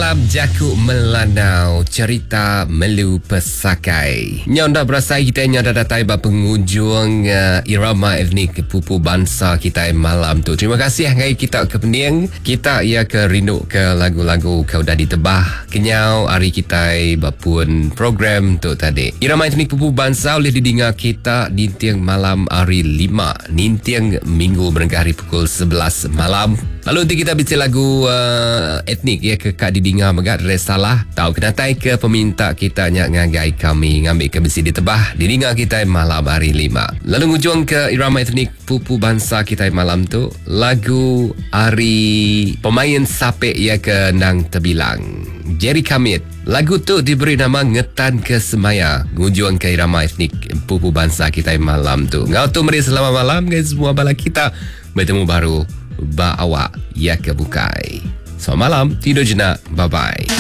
Dalam jaku Melanau, cherita Melu Pesakai. Nyau enda berasai kitai nya dah datai ba pengujung uh, irama etnik pupu bansa kitai malam tu. Terima kasih ngagai kita ke pening, kita iya ke rindu ke lagu-lagu ke udah ditebah kenyau ari kitai ba pun program tu tadi. Irama etnik pupu bansa ulih didinga kita ninting malam hari lima, ninting minggu berengkah ari pukul 11 malam. Lalu enti kita bisi lagu uh, etnik ya ke ka didinga mega dere salah tau kenatai ke peminta kita nya ngagai kami ngambi ke bisi ditebah didinga kitai malam hari lima. Lalu ngujung ke irama etnik pupu bansa kitai malam tu lagu ari pemain sape ya ke nang tebilang Jerry Kamit. Lagu tu diberi nama Ngetan ke Semaya ngujung ke irama etnik pupu bansa kitai malam tu. Ngau tu meri selamat malam guys semua bala kita. Betemu baru ba awak ya ke bukai. Selamat malam, tidur jenak. Bye-bye.